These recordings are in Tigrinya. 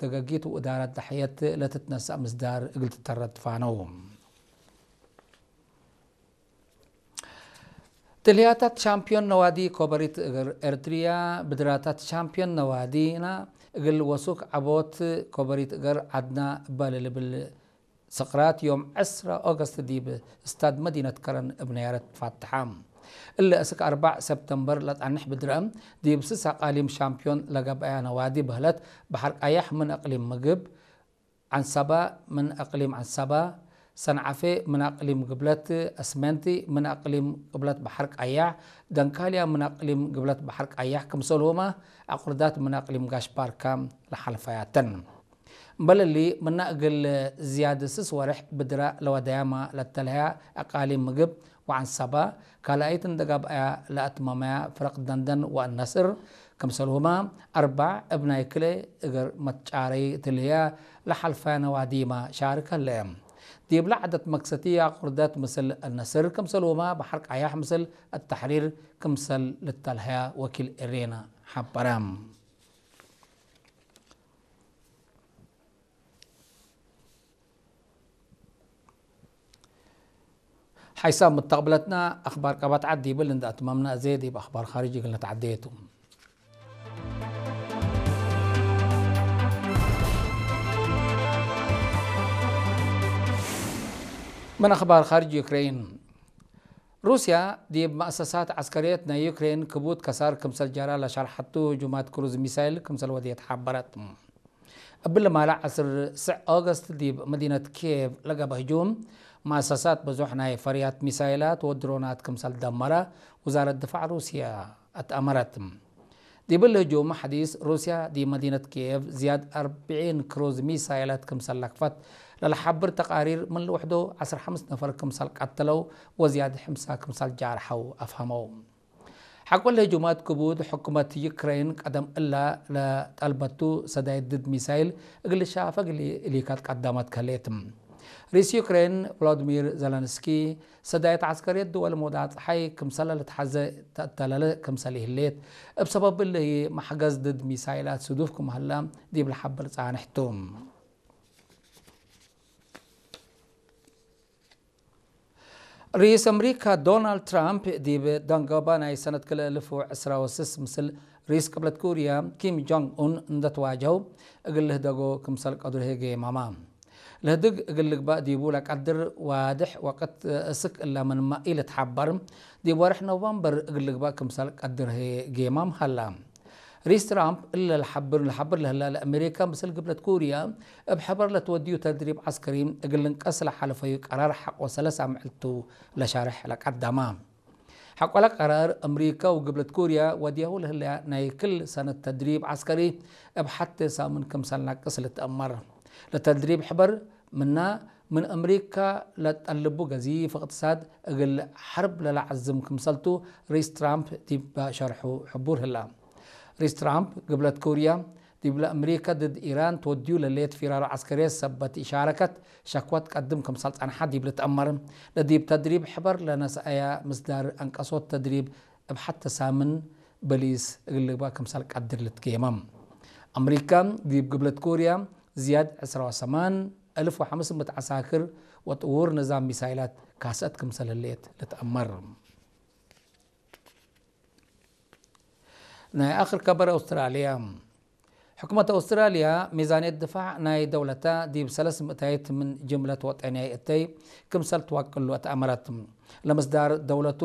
ተገጊት ውእዳራት ዳሕየት ለትትነሳእ ምስዳር እግል ትተረድ ፋነው። ትልህያታት ሻምፒዮን ነዋዲ ኮበሪት እግር ኤርትርያ ብድራታት ሻምፒዮን ነዋዲና እግል ወሱክ ዓቦት ኮበሪት እግር ዓድና እባል ልብል ስቕራት ዮም ዕስራ ኦገስት ዲብ ስታድ መዲነት ከረን እብ ነያረት ፋትሓ። እለ እስክ ኣርባዕ ሰፕተምበር ለጣንሕ ብድረ ዲብ ስሳ ቃሊም ሻምፒዮን ለገብኣያ ነዋዲ በህለት በሐር ቃያሕ ምን እቅሊም ምግብ፣ ዓንሳባ ምን እቅሊም ዓንሳባ፣ ሰንዓፌ ምን እቅሊም ግብለት፣ እስመንቲ ምን እቅሊም ግብለት በሐር ቃያሕ፣ ደንካልያ ምን እቅሊም ግብለት በሐር ቃያሕ ክምሰልሁማ ኣቁርዳት ምን እቅሊም ጋሽ ባርካ ለሓልፋያተን። እምበለሊ ምና እግል ዝያድ ስስ ወርሕ ብድራ ለወዳያማ ለተልሀያ እቃሊም ምግብ ወዓንሳባ ካልኣይት እንደጋብኣያ ለኣትመመያ ፍረቅ ደንደን ወአነስር ክምሰልሁማ ኣርባዕ እብ ናይ ክለ እግር መትጫረይ ትልህያ ለሓልፋያ ነዋዲማ ሻርክ ህለ። ዲብላ ዓደት መክሰቲ ኣቁርደት ምስል አነስር ክምሰልሁማ በሐር ቃያሕ ምስል አተሕሪር ክምሰል ልተልሀያ ወኪል ኤሬና ሓበረ። ሓይሳብ ምተቕብለትና ኣኽባር ቀባት ዓዲ ይብል እንዳ ኣትማምና እዜ ዲብ ኣኽባር ኻርጅ ይግል ነተዓደየቱ። ምን ኣኽባር ኻርጅ ዩክሬን ሩስያ ዲብ መእሰሳት ዓስከርየት ናይ ዩክሬን ክቡድ ከሳር ክምሰል ጀራ ለሸርሐቱ ህጁማት ክሩዝ ሚሳይል ክምሰል ወድየት ሓበረት። እብል ማላ ዓስር ስዕ ኦገስት ዲብ መዲነት ኪየቭ ለገበ ህጁም መእሰሳት ብዙሕ ናይ ፈርያት ሚሳይላት ወድሮናት ክምሰል ደመረ ውዛረት ድፋዕ ሩስያ ኣትኣመረት። ዲብል ህጁም ሓዲስ ሩስያ ዲብ መዲነት ኪየቭ ዝያድ ኣርብዒን ክሩዝ ሚሳይላት ክምሰል ለክፈት ለለሓብር ተቃሪር ምን ልውሕዶ ዓስር ሓምስ ነፈር ክምሰል ቀተለው ወዝያድ ሕምሳ ክምሰል ጃርሐው ኣፍሃመው። ሓቆለ ህጁማት ክቡድ ሕኩመት ዩክሬን ቀደም እላ ለጠልበቱ ሰዳይት ድድ ሚሳይል እግል ሻፈግ ሊ-፣ ሊካት ቀዳማት ከሌት። ሪስ ዩክሬን ቮሎዲሚር ዘለንስኪ ሰዳይት ዓስከርየት ድወል ሞዳ ፀሓይ ክምሰለ ልትሓዘ ተእተለለ ክምሰል ይህሌት እብ ሰበብ እለ ማሕገዝ ድድ ሚሳይላት ስዱፍ ክመህላ ዲብ ለሓብር ፃንሕቱ። ርኢስ ኣምሪካ ዶናልድ ትራምፕ ዲብ ደንጎባ ናይ ሰነት ክልተ ኣልፍ ወዕስራ ወስስ ምስል ርኢስ ቅብለት ኩርያ ኪም ጆንግ ኡን እንደተዋጀው እግል ልህደጎ ክምሰል ቀድሩ ሄገ የማማ። ለህድግ እግል ልግባእ ዲቡ ለቀድር ዋድሕ ወቅት እስክ እላ ምንማ ኢልትሓበር ዲብ ወርሕ ኖቨምበር እግል ልግባእ ክምሰል ቀድር ሄገ የማም ሃላ። ሪስ ትራምፕ እለ ለሓብር ለሓብር ለህላ ለኣሜሪካ ምስል ግብለት ኩርያ እብ ሕበር ለትወድዩ ተድሪብ ዓስከሪ እግል ልንቀስ ለሓለፈዩ ቀራር ሓቆ ሰለሳ ምዕልቱ ለሻርሕ ለቀዳማ። ሓቆለ ቀራር ኣምሪካ ወግብለት ኩርያ ወድያሁ ለህለያ ናይ ክል ሰነት ተድሪብ ዓስከሪ እብ ሓተ ሳምን ክምሰል ናቅስ ልትአመር። ለተድሪብ ሕበር ምና ምን ኣምሪካ ለጠልቡ ገዚፍ እቅትሳድ እግል ሐርብ ለለዓዝም ክምሰልቱ ሪስ ትራምፕ ዲብ ሸርሑ ሕቡር ህላ። ሪስ ትራምፕ ግብለት ኩርያ ዲብ ለኣምሪካ ድድ ኢራን ትወድዩ ለሌት ፊራሮ ዓስከርየት ሰበት ኢሻረከት ሸክወት ቀድም ክምሰል ጸንሓ ዲብ ልትአመር። ለዲብ ተድሪብ ሕበር ለነስአያ ምስዳር አንቀሶት ተድሪብ እብ ሐተ ሳምን በሊስ እግል ልግባእ ክምሰል ቀድር ልትጌመም። ኣምሪካ ዲብ ግብለት ኩርያ ዝያድ ዕስራ ወሰማን እልፍ ወሐምስ ምእት ዓሳክር ወጥውር ንዛም ሚሳይላት ካሰት ክምሰል ህሌት ልትአመር። ናይ ኣኽር ከበር ኣውስትራልያ። ሕኩመት ኣውስትራልያ ሚዛንየት ድፋዕ ናይ ደውለታ ዲብ ሰለስ ምእታይት ምን ጅምለት ወጠንያይ እተይ ክምሰል ትዋቅሉ ኣትኣመረት። ለምስዳር ደውለቱ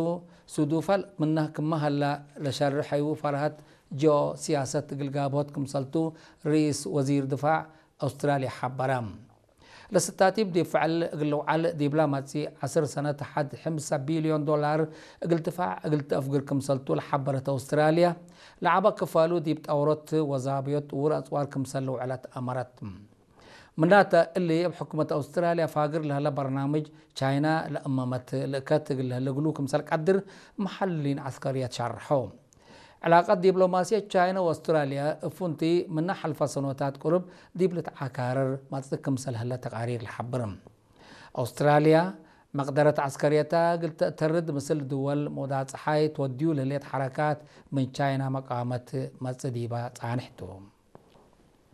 ሱዱፋል ምና ክመሃላ ለሸርሐዩ ፈርሃት ጂኦ ሲያሰት ግልጋቦት ክምሰልቱ ርኢስ ወዚር ድፋዕ ኣውስትራልያ ሓበራ። ለስታቲብ ዲብ ፍዕል እግል ልውዓል ዲብላ ማጺ ዓስር ሰነት ሐድ ሕምሳ ቢልዮን ዶላር እግል ትፋዕ እግል ተአፍግር ክምሰልቱ ለሓበረት ኣውስትራልያ፣ ለዓባ ክፋሉ ዲብ ጣውሮት ወዛብዮት ውር ኣጽዋር ክምሰል ልውዕለት ኣመረት። ምናተ እሊ እብ ሕኩመት ኣውስትራልያ ፋግር ለህለ በርናምጅ ቻይና ለእመመት ልእከት እግል ለህለ እግሉ ክምሰል ቀድር መሐልሊን ዐስከርየት ሻርሖ። ዕላቀት ዲፕሎማስየት ቻይና ወአውስትራልያ እፉንቲ ምነ ሐልፈ ሰኖታት ቁርብ ዲብ ልትዓካረር መጽእ ክምሰል ህለ ተቃሪር ለሐብር። አውስትራልያ መቅደረት ዐስከርየታ እግል ተእተርድ ምስል ድወል ሞዳ ጸሓይ ትወድዩ ለህሌት ሐረካት ምን ቻይና መቃወመት መጽእ ዲባ ጻንሕቱ።